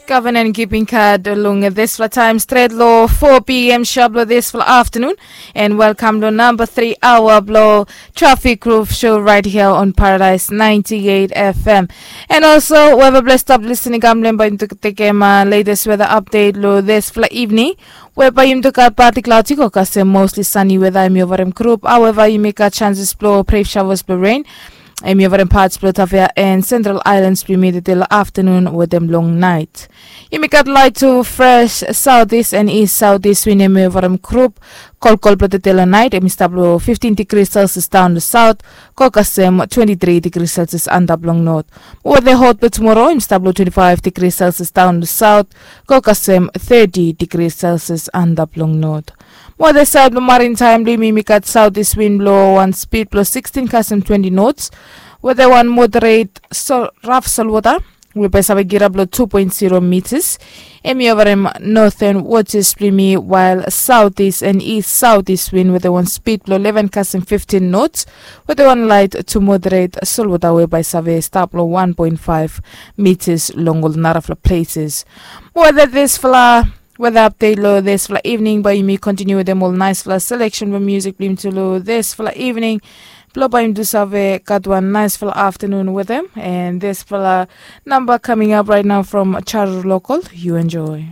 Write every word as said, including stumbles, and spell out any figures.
Gavana en giving kad long disfala taem stret long four p.m. sharp long disfala afternoon. And welcome long number three hour blo Traffic Roof Show right here on Paradise ninety-eight F M. And also wherever blessed stop listening gamblem by into tekem uh, latest weather update lo disfala evening. Whereby yum to got party cloudy go kasem mostly sunny weather em yovarem group. However, you make a chances blo brave showers blo rain. Em yovarem parts blo Tavia and Central Islands blo midedel afternoon wetem long night. Yumi gat light to fresh southeast and east southeast wind em yovarem group. Kolkol blo tete long night em i stap long fifteen degrees Celsius down the south. Go kasem twenty-three degrees Celsius antap long north. Mo weather hot blo tomorrow em stap long twenty-five degrees Celsius down the south. Go kasem thirty degrees Celsius antap long north. Mo weather side blo marine time blo yumi gat southeast wind blo wan speed blo sixteen kasem twenty knots. Weather wan moderate so rough salt water. We bai save girap long two point zero meters. Em yovarem northern waters blo yumi while southeast and east southeast wind weather wan speed blo eleven kasem fifteen knots. Weather wan light to moderate salt water we bai save stap long one point five meters long ol narafala places. Mo weather disfala weather update lo disfala evening bai yumi continue wetem ol nicefala selection blo music blo yumi tu lo disfala evening. Blo bai yumi tu save gat wan nicefala afternoon wetem and disfala number coming up right now from Charu Local. You enjoy.